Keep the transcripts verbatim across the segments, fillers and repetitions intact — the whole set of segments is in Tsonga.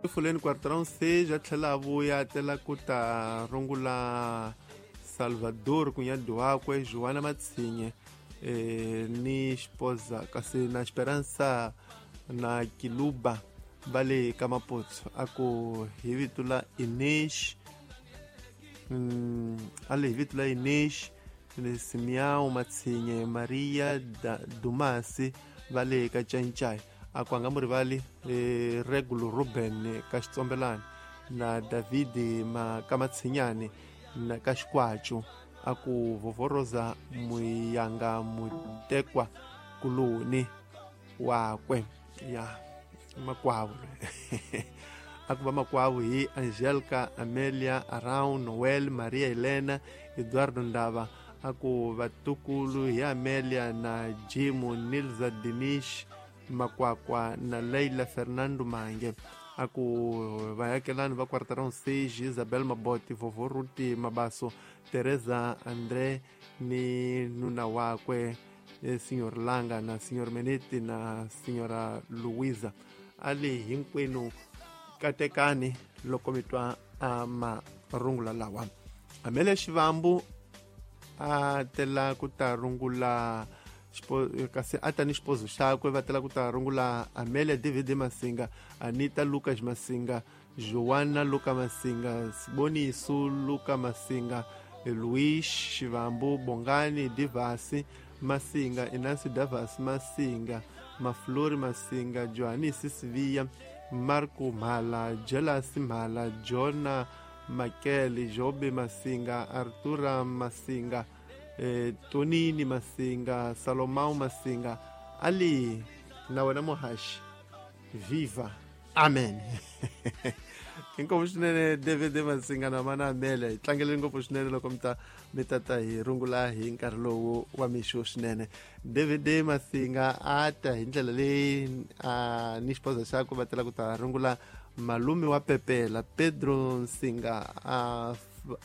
Fuleni Quarteirão seis a tlhela a vuya a tela ku ta rungula Salvador kunyadi wakwe Joana Matsinye eh, ni xipoza kasi na Esperança na Kiluba va le ka Mapotso a ku hi vito la Inês mm, a le hi vito la Inês Simeão Matsinye Maria da, Dumasi va le ka Cancai a ku a nga mu rivali eh, Regulo Ruben ka Xitsombelani na David ma ka Matsinyane na ka Xikwacu a ku vovoroza muyanga mutekwa kuloni wakwe ya makwavo a ku va makwavo hi Angelica Amelia Arau Noel Maria Helena Eduardo Ndava a ku vatukulu hi Amelia na Jimu Nilza Dinish Makwakwa na Leila Fernando Mange a ku vayakelani va Quarteirão seis Isabel Maboti Vovó Ruti Mabaso Teresa André ni nuna wakwe eh, Senhor Langa na Senhor Menete na Senhora Luisa ali hinkwenu katekani loko mi twa a marungula lawa. Amelia Xivambu a tela ku ta rungula kasi a ta ni xipozo xakwe va tela ku ta rungula Amelia David Masinga Anita Lucas Masinga Joana Luca Masinga Siboniso Luca Masinga Luis Xivambu Bongani Divasi Masinga Inansi Davas Masinga Maflori Masinga Johanisi Sivia Marco Mhala Jelasi Mhala Jona Makele Jobe Masinga Artura Masinga eh, Tonini Masinga Salomão Masinga ali na wena muhaxi viva amen. Inkomu swinene David Masinga na mana Amelia hi tlangeleni ngopfu swinene loko mi ta mi tata hi rungula hi nkarhi lowu wa mixo swinene. David Masinga a ta hi ndlela leyi a ni xipoza xakwe va tela ku ta rungula malume wa Pepela Pedro Nsinga a,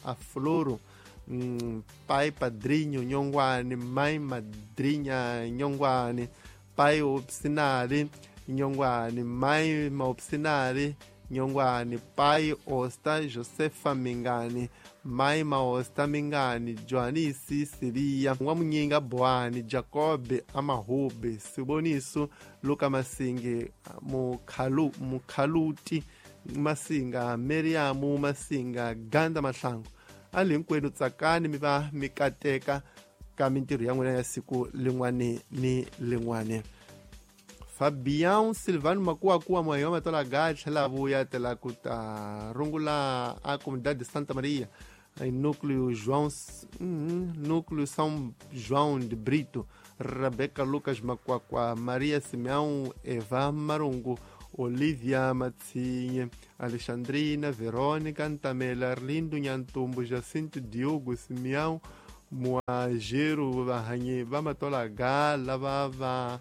a Floro mm, pai Padrinho Nyongwane mai Madrinha Nyongwane pai Opsinari Nyongwane mai Maopsinari Nyongwane pai Osta Josefa Mingani mai Maosta Mingani Joanisi Siria N'wamunyinga Boani Jacob Amahube Siboniso Luka Masinge Mukhalu Mukhaluti Masinga Meriamu Masinga Ganda Mahlangu ali hinkwenu tsakani mi va mi kateka ka mintirho ya n'wina ya siku lin'wani ni lin'wani. Fabian Silvano Makuakuwa moyo wa matola ga tlhela vuya tela ku ta rungula a comunidade de Santa Maria em núcleo João hum, núcleo São João de Brito Rebeca Lucas Macuacua Maria Simeão Eva Marungo Olivia Matsinha Alexandrina Verônica Antamela Arlindo Nhantumbo Jacinto Diogo Simeão Muajero vahanyi va matola ga lava va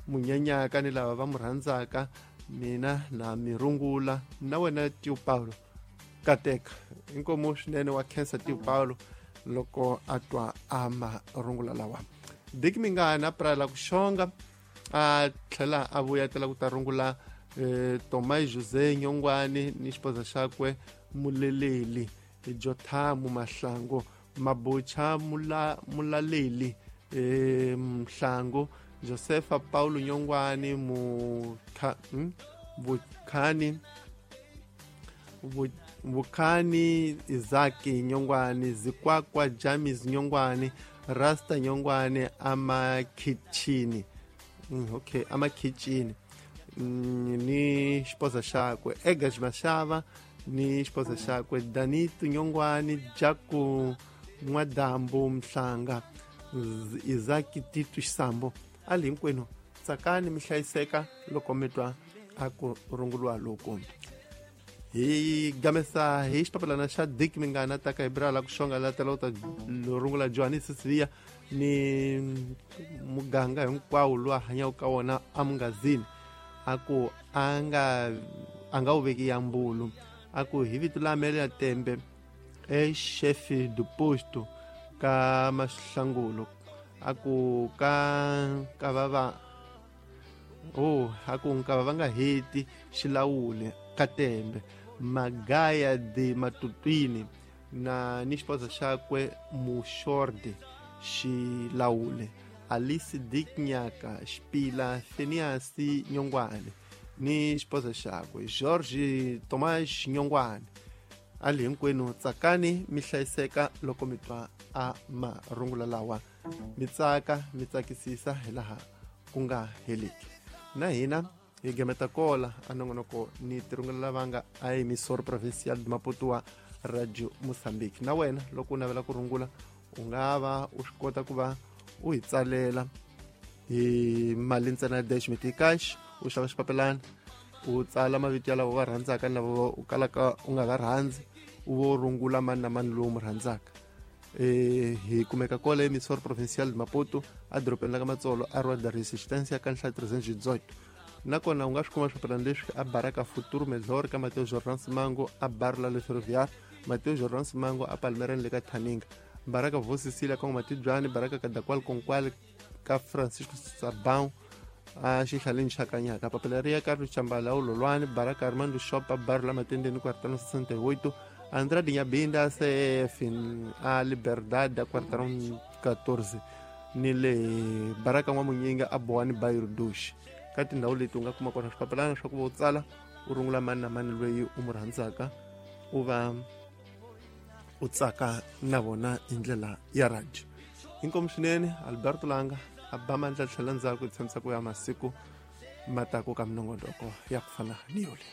munyanyaka ni lava va mu rhandzaka mina na mi rungula na wena Tio Paulo kateka inkomu swinene wa khensa Tio Paulo loko a twa a marungula lawa. Dick Mingana prala ku xonga a tlhela a vuya tela ku ta rungula eh, Tomai José Nyongwane ni xipoza xakwe Muleleli Jothamu Mahlangu Mabucha Mula, Mulaleli eh, Mhlangu Josefa Paulo Nyongwane Mukha, hmm? Bukhani Bukhani Izaki Nyongwane Zikwakwa Jamis Nyongwane Rasta Nyongwane Amakhichini mm, okay Amakhichini mm, ni xipoza xakwe Egas Mashava ni xipoza xakwe Danito Nyongwane Jaku N'wadambu Mhlanga Izaki Tito Xisambo ali hinkwenu tsakani mi hlayiseka loko mi twa a ku runguriwa loko hi gamesa hi xipapalana xa Dick Mingana ta ka hi brala ku xonga la tela u ta rungula Johannes Siviya ni muganga hinkwawo lowu a hanyaka ka wona amungazini a ku a nga a nga wu veki ya mbulu a ku hi vito la Amelia Tembe ex-chefe do posto ka Mahlangulo a ku ka ka va va oh a ku nka va nga heti xilawule Katembe Magaya de Matutwini na ni xipoza xakwe Muxorde Xilawule Alice Dick Nyaka Xipila Phineas Nyongwane ni xipoza xakwe George Tomas Nyongwane ali hinkwenu tsakani mi hlayiseka loko mi twa a marungula lawa mi tsaka mi tsakisisa hi laha ku nga heliki na hina hi gemeta kola a nongonoko ni tirungula lava nga a emissora provincial de Maputo wa Radio Mozambique. Na wena loko u navela ku rungula u nga va u swi kota ku va u hi tsalela hi mali ntsena ya dash miticash u xava xipapelana u tsala mavito ya lava va rhandzaka ni lava u kalaka u nga va rhandzi u vo rungula mani na mani lowu mu rhandzaka. E hi kumeka kola emissora provincial de Maputo a dorobeni la ka Matsolo a Rua da Resistência ka nhlayo trezentos e dezoito. Nakona u nga swi kuma swipapelana leswi a Baraka Futuro Melhor ka Mateo Jordan Simango a Bar la Le Ferroviário, Mateo Jordan Simango a Palmeiras le ka Thaninga, Baraka Vo Cecília ka Matibyani, Baraka Kadakwal Konkwale ka Francisco Sabão a xihlaleni xa Kanyaka, Papelaria Carlos Chambala Ulolwane, Baraka Armando Shop a Bar la Matendeni quarteirão sessenta e oito, Andrade Nhabinda C F a Liberdade a quarteirão quatorze, ni le Baraka N'wamunyinga a Boani Bairro dois. Ka tindhawu leti u nga kuma kona swipapelana swa ku va u tsala u rungula mani na mani loyi u mu rhandzaka u va u tsaka na vona hi ndlela ya radio. Inkomu swinene Alberto Langa a ba mandla tlhela ndzhaku hi tshembisa ku ya masiku ma taku ka minongonoko ya ku fana ni yole.